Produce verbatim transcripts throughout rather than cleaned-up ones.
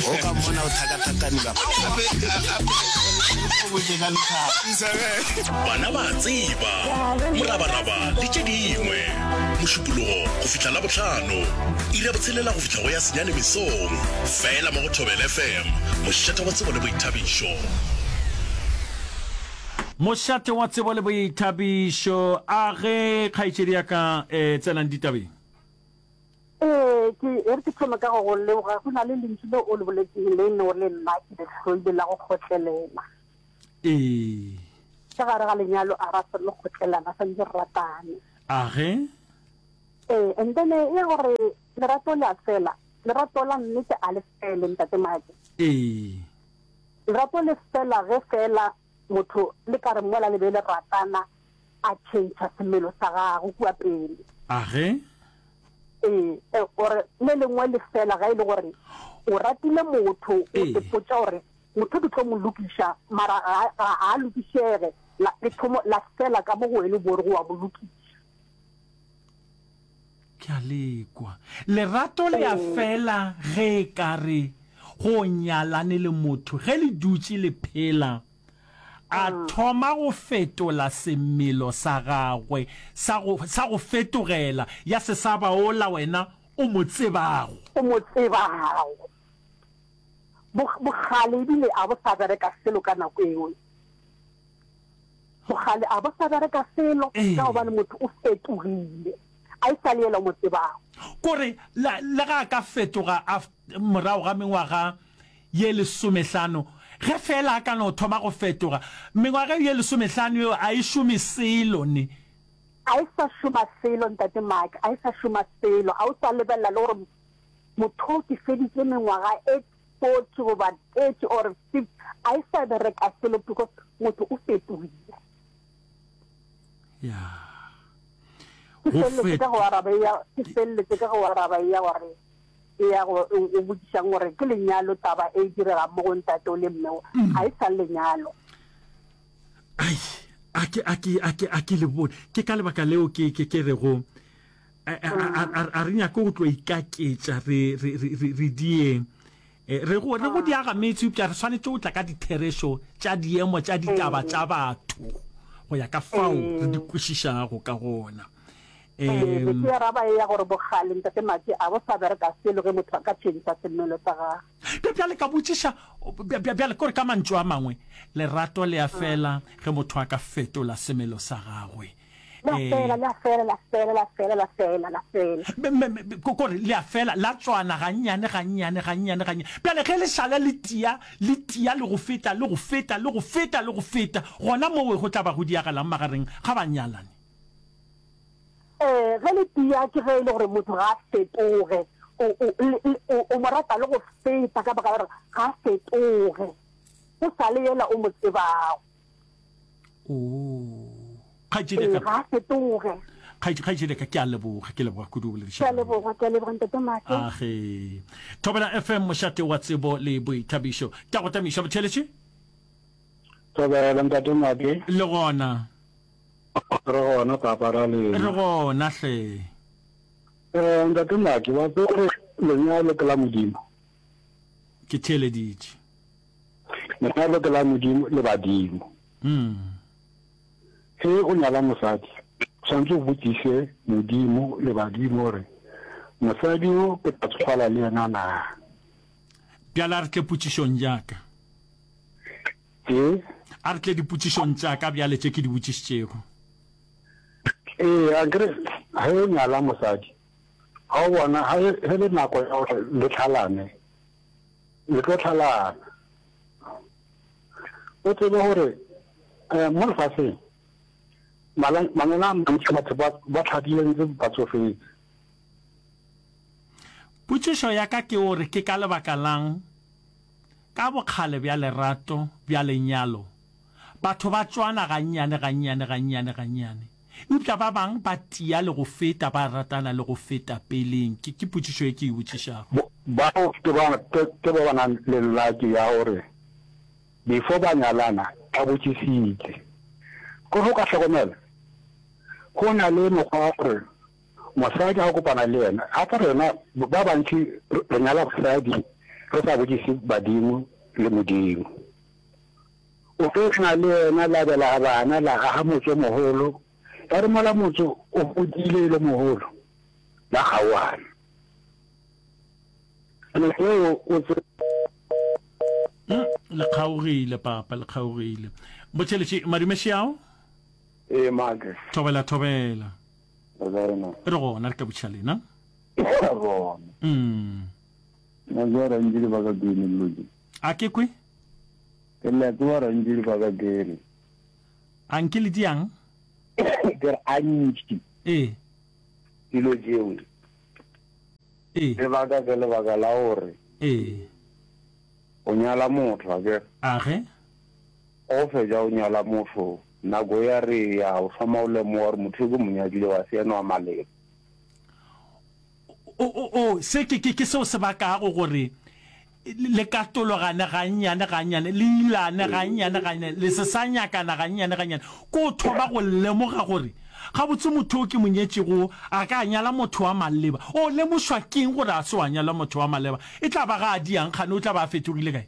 O ka mmona o tlhakatlhakane ka Gape gape o botse ka lethabo. Bana ba a tseba, morabaraba le tše dingwe. Mošupologo go fihla Labohlano, iri ya botshelela go fihla go ya senyane mesong, fela mo go Thobela F M, mošate wa tsebo le boithabišo. Mošate wa tsebo le boithabišo. A ge kgaetšedi ya ka eh, tsenang ditabeng. Ee, ke e re ke thome ka go go leboga. Go na le lentšu le o le boletseng le e leng gore le nna ke le hloile la go kgotlelela. Ee. Ka gare ga lenyalo a ra swanela go kgotlelana, santse re ratane. A ge? Ee, and then e gore lerato le a fela. Lerato la nnete a le fele, ntate Maki. Ee. Lerato le fela ge fela motho le ka re mola le be le ratana a change semelo sa gagwe kua pele. A ge? Ee, gore le lengwe le fela ga e le gore o ratile motho o Ee. ipotša gore motho ke tlo mo lokiša mara ga ga a lokišege la le thomo la fela ka mo go wena o bo re go wa mo lokiša. Ke a lekwa. Lerato le a fela ge e ka re go nyalane le motho ge le dutše le phela a thoma go fetola semelo sa gagwe sa go, sa go fetogela ya se sa ba ola wena o mo tsebago. O mo tsebago. Bo, bogale ebile a bo sa bereka selo ka nako eo. Bogale a bo sa bereka selo Ee. ka gobane motho o fetogile. A e sa le yela o mo tsebago. Kore la, le ga a ka fetoga af, morago ga mengwaga ye lesomehlano, ge feela a ka no thoma go fetoga, mengwaga ye lesomehlano yeo a e šome selo ne. A e sa šoma selo, Ntate Mike, a e sa šoma selo. A o sa lebelela le gore motho o ke feditše mengwaga e forty goba thirty or fifty, a e sa bereka selo because motho o fetogile. Ya. Ke Go feleletše ka fet go araba ya, ke feleletše ka go araba ya gore e ya go o o botšišang gore ke lenyalo taba e diregang mo go ntate o le mme o, ga e sa le lenyalo. Ai, a ke a ke a ke a ke le bone. Ke ka lebaka leo ke ke ke rego a a a a a re nyake go tlo ikaketša re re re re re dieng. Eh, re go re go diaga metse eupša re swanetše go tla ka ditherešo tša diemo tša ditaba tša batho go ya ka fao re di kwešišago ka gona. Ee, be Em, ke araba e ya gore bogale ntate Maki a bo sa bereka selo ge motho a ka change semelo sa gagwe. Bja- bjale ka botšiša bja- bja- bjale kore ka mantšu a mangwe lerato le a fela ge motho a ka fetola semelo sa gagwe. La Eh, fela, la fela, la fela, la fela, la fela, la fela. Me- me- me- ko- kore le a fela la tswana gannyane gannyane gannyane gannyane bjale ge le šala le tia le tia le go feta le go feta le go feta le go feta gona mowe go tla ba go diagalang magareng ga banyalani. Ee, ge le tia ke ge e le gore motho ga a fetoge, o, o, le, le, o, o mo rata le go feta ka baka la gore ga a fetoge, o sa le yela o mo tsebago. Oh, kgaetšedi Ee, ya ga ka a fetoge. kgaetše- kgaetšedi ya ka ke a leboga ke leboga kudu Ke a boledišana. leboga, ke a leboga ntate Make. Age. Thobela F M mošate wa tsebo le boithabišo. Ke a go tamiša motheeletši. Thobela ntate Make. Le gona. Re gona papa ra Re lena. gona hle. Eh ntate Make wa tseba gore lenyalo ke la Modimo. Ke theeleditše. Lenyalo ke la Modimo le badimo. Mm. Ge o nyala mosadi, o swanetše o botšiše Modimo le badimo gore mosadi o ke tla tsofala le yena na. Bjale a re tle potšišong ya ka. Ee. A re tle dipotšišong tša ka bjale tše ke di botšišitšego. Ee, akere ge o nyala mosadi, ga o bona ga ge le nako ya gore le tlhalane, le tlo tlhalana. O tsebe gore eh, mo lefaseng mala- manyalo a mantši batho ba ba tlhadile ntse ba tsofetse. Potšišo ya ka ke gore ke ka lebaka lang ka bokgale bja lerato bja lenyalo batho ba tšwana gannyane gannyane gannyane gannyane eupša ba bang ba tia le go feta ba ratana le go feta peleng. Ke ke potšišo e ke e botšišago. Bo- Bao ke ba ke ke ba ba nang le lucky ya gore before ba nyalana ba botšišitše. Ko go ka hlokomela go na le mokgwa wa gore mosadi ga o kopana le yena gape rena ba bantši re nyala basadi Re sa botšiše badimo le Modimo. O tlo na le yena la belega bana, la aga motse o mogolo, ya re mola motse o godile e le mogolo, la kgaogana. Nako eo o tse. Mm, le kgaogile papa, le kgaogile. Botšheletše, madume šiao. Ee, Make. Thobela, thobela. Re kae na? Re gona, re ka botšiša lena. Re gona. Mm. Na tseba rantši lebaka ke eng dilo tše? A ke kwe? Ke le a tseba rantši lebaka ke eng? A nke le diang? Ke re a ntši. Ee. Dilo tšeo. Ee. Lebaka ke lebaka la gore. Ee. O nyala motho, a kere? A ge? O fetša o nyala motho, nako ya re ya, o thoma o lemoga gore motho yo ke mo nyadile wa se yena wa maleba. O, o, o, se ke, ke, ke seo se bakago gore le katologane gannyane, gannyane, le ilane gannyane, gannyane, le se sa nyakana gannyane, gannyane. Ke o thoma go lemoga gore, gabotse motho yo ke mo nyetšego a ka nyala motho wa maleba. O lemošwa ke eng gore a se wa nyala motho wa maleba? E tla ba ga a diang kgane o tla ba a fetogile kae?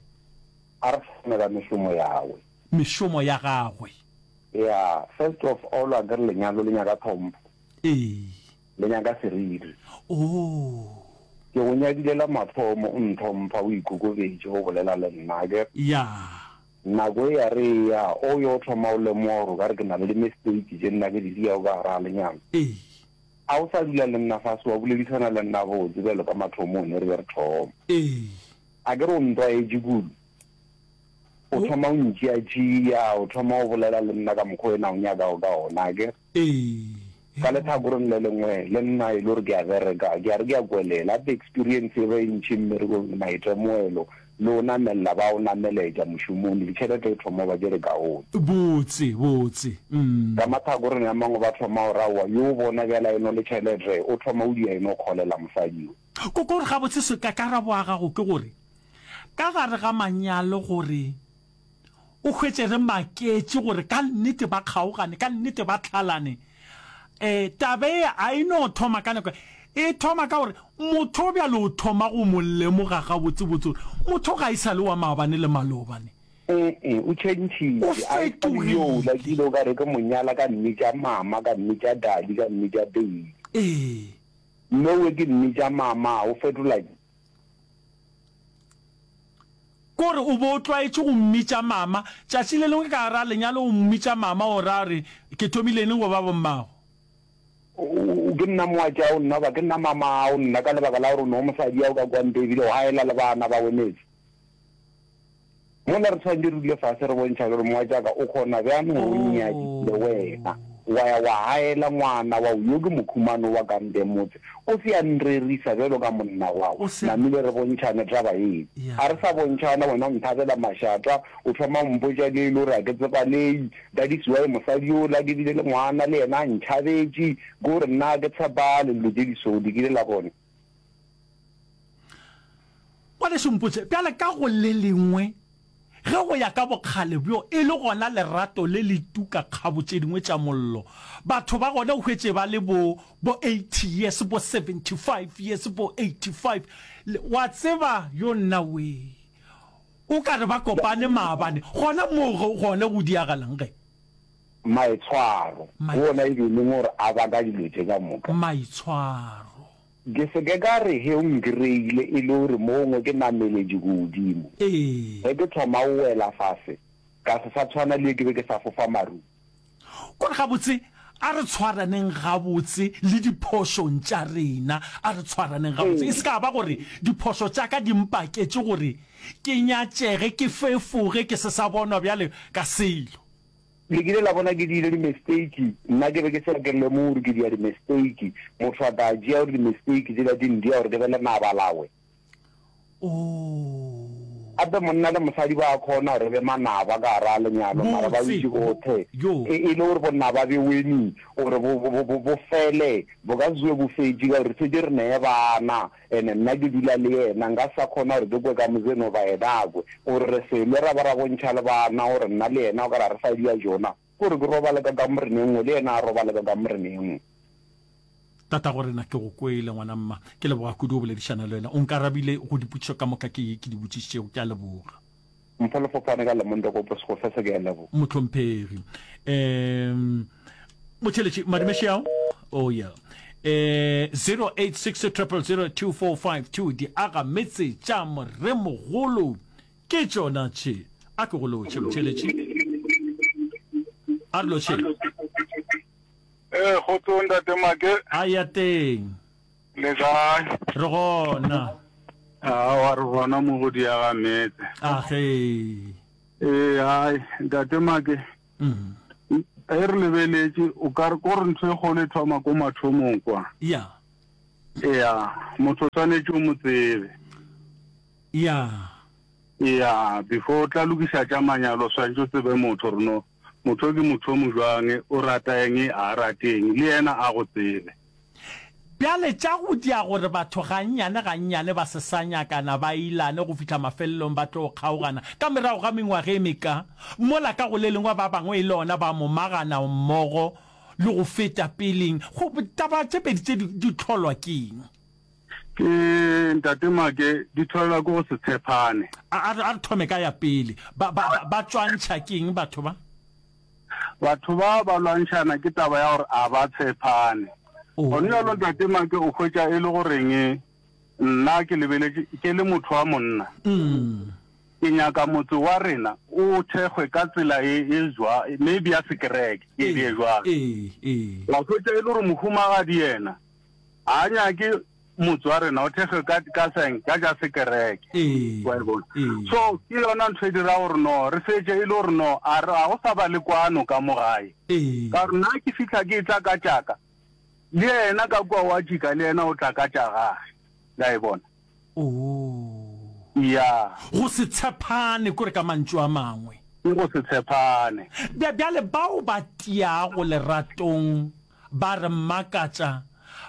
A re thome ka mešomo yagwe. Mešomo ya gagwe. Ya, first of all, a ke re lenyalo le nyaka tlhompho. Ee. Le nyaka seriti. Oh. Ke go nyadile la mathomo, o ntlhompha, o ikokobetše, o bolela le nna, a ke re? Ya. Nako e ya re eya, o yo thoma o lemoga gore o ka re ke na le di-mistake tše nna ke di diago ka gare ga lenyalo. Ee. A o sa dula le nna fase wa boledišana le nna botse bjalo ka mathomong ne re be re thoma? Ee. A ke re o ntlwaetše kudu? O thoma o ntšeatšea, o thoma o bolela le nna ka mokgwa wena o nyakago ka ona, a ke re? Ee. Ka lehlakoreng le lengwe, le nna e le gore ke a bereka, ke a re ke a kwelela. Gape experience e ba e ntši mmerekong, maitemogelo, le o namelela ba o nameletša mošomong, ditšhelete e thoma go ba tše di kaone. Botse, botse, mm. Ka mahlakoreng a mangwe ba thoma go re aowa, yo bona bjale a eno le tšhelete, o thoma o dia eno kgolela mosadi yo. Ko, ko gore gabotse se, ka karabo ya gago ke gore, ka gare ga manyalo gore o hwetše re maketše gore ka nnete ba kgaogane, ka nnete ba tlhalane. E, taba e a e no thoma ka nako e thoma ka gore motho bjalo o thoma go mo lemoga gabotsebotse gore motho ga e sa le wa maabane le malobane. E-e, o tšhentšhitše. O A e sa le yola fetogile. ke ile o ka re ke mo nyala ka mmitša mama, ka mmitša daddy, ka mmitša baby. Ee. Mme we ke mmitša mama, o fetola. Kore o be o tlwaetše go mmitša mama, tšatši le lengwe ka gara lenyalo o mmitša mama o ra gore ke thomile neng go ba bommago? O, o, ke nna moatšao nna goba ke nna mamao nna ka lebaka la gore o ne o mosadiao ka kwa ntle ebile o gaela le bana ba wemetse. Mola re tshwanetše re dule fase re bontšhane gore moatšaka o kgona bjang gore o nnyadile wena wa ya wa gaela ngwana wao yo ke mokhumano wa ka ntle motse o se ya nrerisa bjalo ka monna wao O se. namile re bontšhane taba ye Ya. a re sa bontšhana wena o nthabela mašata o thoma o mpotša le e le gore a ke tsebalei that is why mosadi yola ke bile le ngwana le yena a ntšhabetše ke gore nna a ke tshepale dilo tše di so di kile la bona. Ngwanešu mpotše, bjale ka go le lengwe, ge go ya ka bokgale bjo e le gona lerato le le tuka kgabo tše dingwe tša mollo, batho ba gona o hwetše ba le bo, bo eighty years, bo seventy five years, bo eighty five, le, wa tseba, yo nna wee, o ka re ba kopane maabane, gona moo go, gone go diagalang ge? Maitshwaro, ke wona e be e leng gore a baka dilo tše ka moka. Maitshwaro. Ke se ke ka re ge o nkreile e le gore mo gongwe ke nameletše godimo. Ee. Ge ke thoma go wela fase, ka se sa tshwana le ge ke be ke sa fofa marung. Kore gabotse, a re tshwaraneng gabotse le diphošong tša rena. A re tshwaraneng gabotse. E se ka ba gore diphošo tša ka di mpaketše gore ke nyatšege, ke fefoge, ke se sa bonwa bjale ka selo. Le kile la bona ke diile di-mistake? Nna ke be ke sa ke lemoge gore ke dia di-mistake. Motho a ka tšea gore di-mistake tšela di ndia gore ke be lenaba lawe. Oh. Gape monna le mosadi ba kgona gore e be manaba ka gare ga lenyalo, mara ba Botse. dutše bohle. Yo. E, e le gore bonaba bjo weni gore bo, bo, bo, bo, bo fele, bo ka se tsoge bo fetše ka gore re šetše re ne bana. Ene nna ke dula le yena, nka se sa kgona gore ke kwe ka mozeno goba yena a kwe. Gore re se lwe ra ba ra bontšha le bana gore nna le yena o ka re ga re sa dia jona. Ke gore ke robale ka kamoreng e nngwe le yena a robale ka kamoreng e nngwe. Tatago rena, ke go kwele, ngwana mma. Ke leboga kudu go boledišana le wena. O nkarabile go dipotšišo ka moka ke, ke di botšišitšego. Ke a leboga. Mpho Lefofane ka Lemonte ko Segofe se ke a leboga. Mohlomphegi. Um, motheletši, madumeši ao? Oh, yeah. Eh, zero eight six triple zero two four five two, di aga metse tša moremogolo ke tšona tše. A ke go lotšhe, motheletši. A re lotšhe. Eh, kgotsong ntate Make. A ya teng. Le kae? Re gona. Aowa, re gona mo go diaga metse. A ge. Ee, hai, ntate Make. Mm. Ge re lebeletše, o ka re ko re ntho e kgolo e thoma ko mathomong kwa. Ya. Ya, motho o swanetše o mo tsebe. Ya. Ya, before o tla lokiša tša manyalo, o swanetše o tsebe motho gore no motho o ke motho o mojwang, o rata eng, a a rate eng, le yena a go tsebe. Bjale tša go dia gore batho gannyane gannyane ba se sa nyakana, ba ilane go fihla mafelelong ba tlo kgaogana ka merago ga mengwaga e meka, mola ka go le lengwe ba bangwe e le ona ba momagana mmogo le go feta peleng. Go, taba tše pedi tše di, di hlolwa ke eng? Ke, Ntate Make, di hlolwa ke go se tshepane. A, a re, a re thome ka ya pele. Ba, ba, ba, ba tšwantšha ke eng batho ba? Batho ba ba lwantšhana ke taba ya gore a ba tshepane. Gone bjalo Ntate Make o hwetša e le goreng nna ke lebeletše ke le motho wa monna, ke nyaka motse wa rena o thekgwe ka tsela e, e jwa, maybe ya sekereke, ke e jwalo. Wa hwetša e le gore mohumagadi yena ga a nyake motse wa rena o thekgwe ka, ka seng, ka tša sekereke. Wa e bona? So ke yona ntho e dira gore no re fetše e le gore no a re, ga go sa ba le kwano ka mo gae. Ka gore nna ke fihla ke etla ka tšaka, le yena ka kua wa tšika, le yena o tla ka tša gage. La e bona? Ya. Go se tshepane, kore ka mantšu a mangwe. Ke go se tshepane. Bja, bjale bao ba tiago leratong ba re makatša,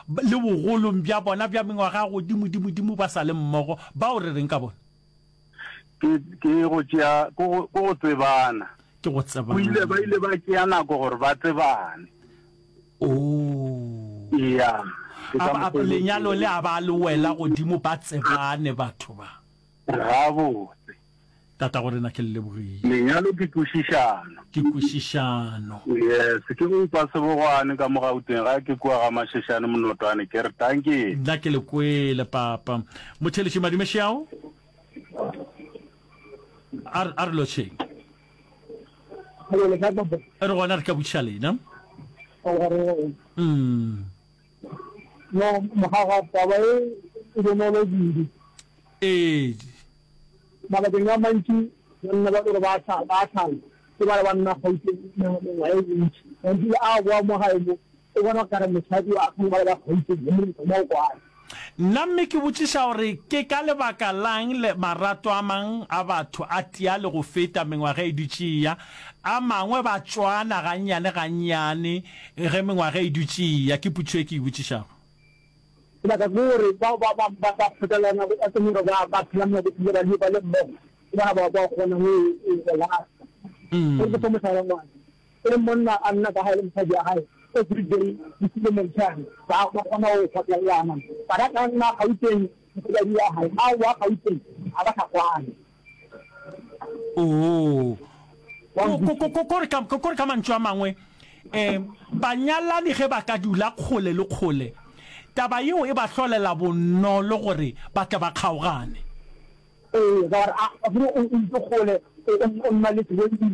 le bogolong bja bona bja mengwaga ya godimodimodimo ba sa le mmogo, bao re reng ka bona? Ke, ke go tšea, ke go, ke go tsebana. Ke go tsebana. O ile, ba ile ba tšea nako gore ba tsebane. Oh. Ya. Ke ka A, a, mokgwa o e leng lenyalo teng. le a ba le wela godimo ba tsebane batho ba. Gabotse. Tatago rena ke le lebogile. Lenyalo ke kwešišano. Ke kwešišano. Yes, ke go upa sebogwane ka mo Gauteng, ga ke kua ga Masheshane Monotwane, ke re dankie. Nna ke le kwele papa. Motheletši Madumešeao. A re, a re lotšheng. Hello, le kae papa? Re gona re ka botšiša lena. Aowa, re gona. Mm. No, mogaga taba e e bonolo kudu. Ee. Mabakeng a mantši banna ba gore ba tlhala, ba tlhala ke ba le ba nna Gauteng mengwaga e mentši. Gantši a boa mo gae mo o bona kare mosadi wa kgale ba le ba Gauteng le monna mo o kwane. Nna mme ke botšiša gore ke ka lebaka lang le marato a mang a batho a tia le go feta mengwaga e dutše e ya, a mangwe ba tšwana gannyane gannyane ge mengwaga e dutše e ya? Ke potšišo e ke e botšišago. Lebaka ke gore bao ba ba ba ba kgotlelelana ba tsebe gore ba ba phela mo bophelo ba le ba le mmogo, ke bona ba ba kgonang go go lasta. Gore ke fe mohlala ngwana, e monna a nna ka gae le mosadi wa gae every day bosigo le motshehare, ba ba kgona go kgotlelelana. Ba ka ka nna Gauteng mosadi wa gae, a boa Gauteng a ba sa kwane. Oo. Ko re ka, ko re ka mantšu a mangwe, um banyalani ge ba ka dula kgole le kgole, taba yeo e ba hlolela bonolo gore ba tle ba kgaogane. Ee, ka gore a, a gore o, o ntse kgole, o, o, o nna le Zwelile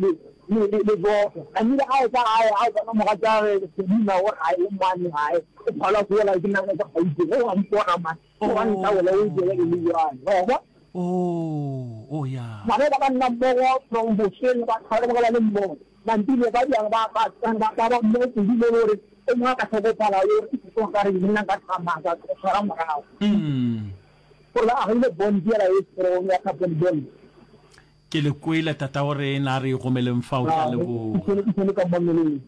le, le, le Zoso. Tlamehile a etla gae, a o bona mogatšagwe Selina o gae, o mane gae, o phalwa ke yola ke nna ka Gauteng, o a mpona man, o wa ntaola, o jele le jwale, wa bona? Oh, oh ya. Bana ba ba nna mmogo from bosweng ba tlhola ba ba le mmogo. Mantile ba bjang ba ba ba ba ba mmogo kudu mo gore o mongwe a ka hlokofala o re ke ka re nna nka tsamaya ka tshwara morago. Mm. Gore ba agile bond yela e strong ya couple bond. Ke le kwele tatago rena a re gomeleng fao ke a leboga.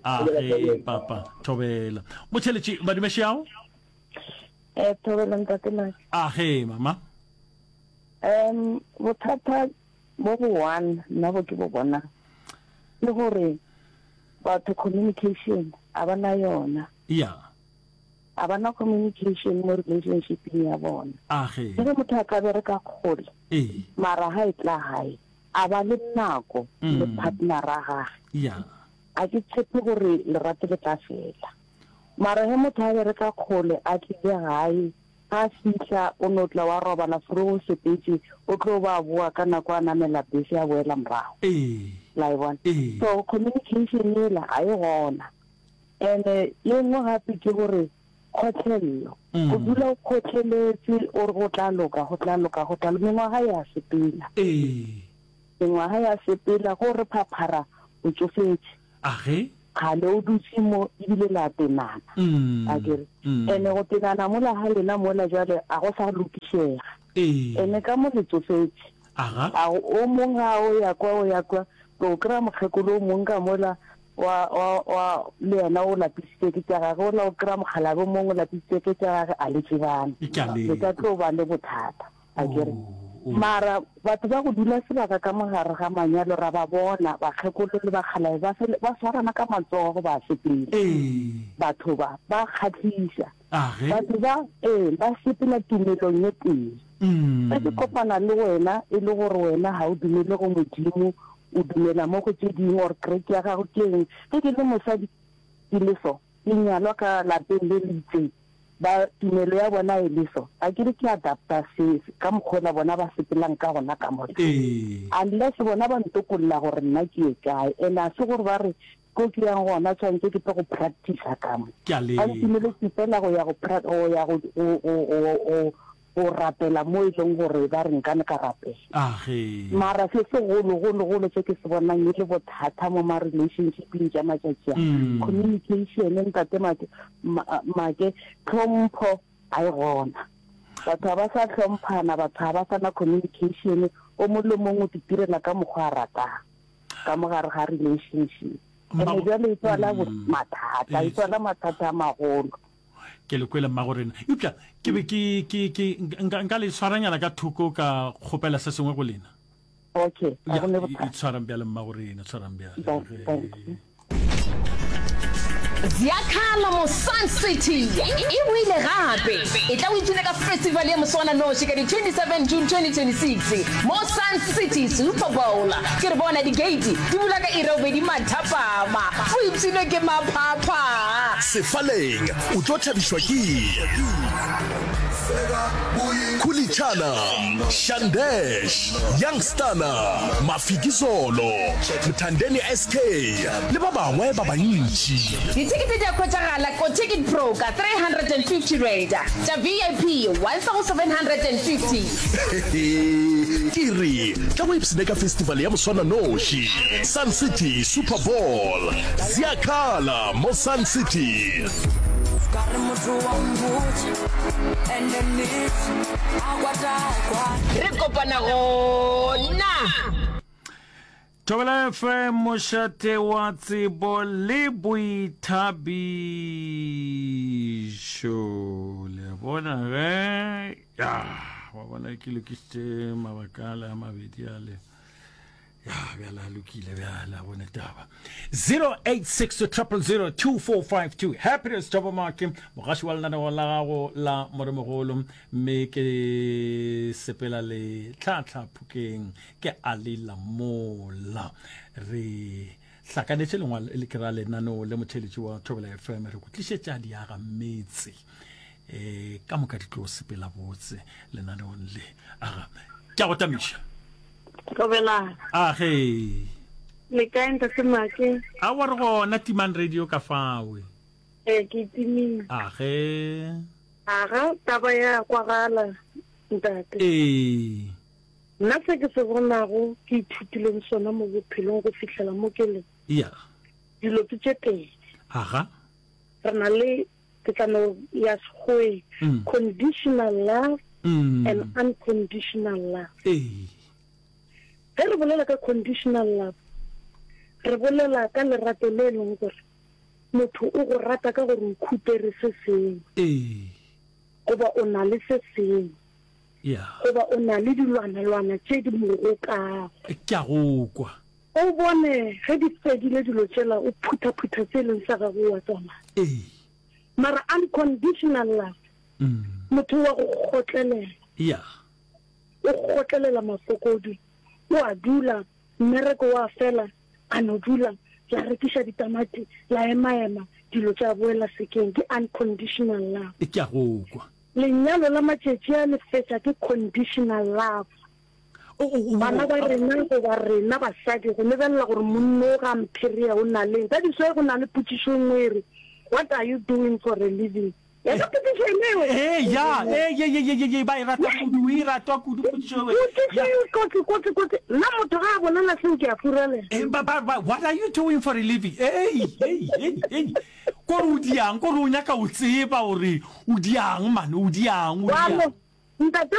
A ge papa thobela. Motšheletši madumešeao. Eh thobela ntate Mike. A ge mama. Um bothata bo bo one nna bo ke bo bonang ke gore batho communication a ba na yona. Yeah. A ba na communication mo relationshipeng ya bona. Age. Le ge motho a ka bereka kgole, Ee. mara ha e tla gae, a ba le nako le partnera gage. Ya. A ke tshepe gore lerato le tla fela. Mara ge motho a bereka kgole a tlile gae, ga a fihla o no tla wa robala fro o sepetše, o tlo ba a boa ka nako a namela bese a boela morago. Ee. La e bona? Ee. So communication yela ga e gona. And-e ye nngwe gape ke gore kgotlello. O dula o kgotleletše o re go tla loka, go tla loka, go tla loka. Mengwaga ya sepela. Ee. Mengwaga ya sepela, go re phaphara o tšofetše. Age. Kgale o dutše mo ebile le a tenana. Mm. A ke re? Mm. Ene go tenana mola ga lena mola jwale a go sa lokišega. Ee. Ene ka mo le tsofetše. Aga. A o mong ga o ya kwa o ya kwa, o kry-a mokgekolo o mong ka mola wa, wa, wa, le yena o lapisitše ke tša gage, ola o kry-a mokgalabje o mongwe o lapisitše ke tša gage, a le tsebane. Ke a Le ka lekwa. tlo ba le bothata, a ke re. Oh, oh. Mara batho ba go dula sebaka ka mo gare ga manyalo ra ba bona, bakgekolo le bakgalabje ba fele, ba swarana ka matsogo ba sepela. Ee. Batho ba, ba kgahliša. A ge? Batho ba, ee, ba sepela tumelong ye tee. Ge ke Mm. kopana le wena e le gore wena ga o dumele go Modimo, o dumela mo go tše dingwe or kereke ya gago ke eng, ge ke le mosadi ke le so, ke nyalwa ka lapeng le le itseng, ba tumelo ya bona e le so, ga ke re ke adapta se ka mokgwa bona ba sepelang ka gona ka mola. Ee. Unless bona ba ntokolla gore nna ke ye kae, and a se gore ba re ko ke yang gona tshwanetse ke tle go practice-a ka mo. Ke a Ba lekwa. ntumeletse fela go ya go pra-, go ya go, go, go, go, go, go rapela mo e leng gore ba re nkane ka rapela. Age. Mara se segologologolo se ke se bonang e le bothata mo ma relationshipeng tša matšatši a, Mm. communication, ntate Make, ma-, Make, tlhompho ga e gona. Batho ga ba sa hlomphana, batho ga ba sa na communication, o mongwe le mongwe o titirela ka mokgwa a ratang ka mo gare ga relationship. Ene Mmago- jwale e tswala bo- Mm. mathata, e Ee. tswala mathata a magolo. Ke le kwele mmago rena. Eupša ke be ke, ke, ke, nka, nka le tshwaranyana ka thoko ka kgopela se sengwe go lena. Okay, ga Ya, go ne e, e bothata. tshwarang bjale mmago rena, tshwarang bjale. Thank, Ge- thank you. Ziakhala mo Sun City e boile gape. E tla o ipshine ka festival ya moswananoši ka di twenty-seven June twenty twenty-six mo Sun City Super Bowl. Ke re bona di-gate di bula ka iri ya bobedi mathapama. O ipshine ke maphapha. Sefaleng o tlo thabišwa ke Khulichana, Shandesh, Youngstana, Mafikizolo, Mthandeni S K le ba bangwe ba bantši. Dithekete di a hwetšagala ko Ticket Pro ka three hundred and fifty rand, tša V I P one thousand seven hundred and fifty. Ke re tla go ipshine ka festival ya moswananoši Sun City Super Bowl. Ziakhala mo Sun City. Ka re motho wa mpotša, and nnete, a kwata kwa. Re kopana gona. Thobela F M, mošate wa tsebo le boithabišo. Le a bona ge? Ya, wa bona ke lokišitše mabaka a le a mabedi a le. Ya, bjale a lokile, bjale a bone taba. zero eight six triple zero two four five two. Happiness Thabo Make, mogaši wa lenaneo la gago la Moremogolo, mme ke sepela le tlhatlha Phokeng, ke a le lamola. Re hlakanetše lengwalo le ke ra lenaneo le motheeletši wa Thobela F M, re go tlišetša diaga metse. Eh, ka moka di tlo sepela botse lenaneong le. Aga, ke a go tamiša. Thobela. Age. Le kae ntate Make? A wa re gona Timang Radio ka fawe. Eh, ke timile. Age. Aga, taba ya kwagala ntate. Ee. Nna se ke se bonago ke ithutileng sona mo bophelong go fihlela mo ke leng. Ya. Dilo ke tše pedi. Aga. Re na le ke tla no ya Sekgoweng, Mm. conditional love Mm. and unconditional love. Ee. Ge re bolela ka conditional love, re bolela ka lerato le leng gore motho o go rata ka gore o khupere se sengwe. Ee. Goba o na le se sengwe. Ya. Goba o na le dilwanalwana tše di mo rokago. Ke a go kwa. O bone ge di fedile dilo tšela, o phutha-phutha tse leng sa gago wa tsamaya. Ee. Mara unconditional love, motho wa go kgotlelela. Yeah. O kgotlelela mafokodi, o a dula, mmereko wa fela, a no dula, la rekiša ditamati, la emaema, dilo tša boela sekeng. Ke unconditional love. Ke a go kwa. Lenyalo la matšatši a le fetša ke conditional love. Bana ba rena goba rena basadi go lebelela gore monno o ga mpherea o na leng. That is why go na le potšišo e nngwe e re, What are you doing for a living? Ya ka potšišo ene eo. Ee, ya, ee, ye, ye, ye, ye, ye, ba e rata kudu, e ratwa kudu potšišo eo. Potšišo eo kotsi, kotsi, kotsi. Nna motho ga a bolela seo ke a furalela. Ee, ba, ba, ba, what are you doing for a living? Ei, ei, ei, ei. Kore o diang, kore o nyaka o tseba gore o diang, man, o diang, o diang. Ntate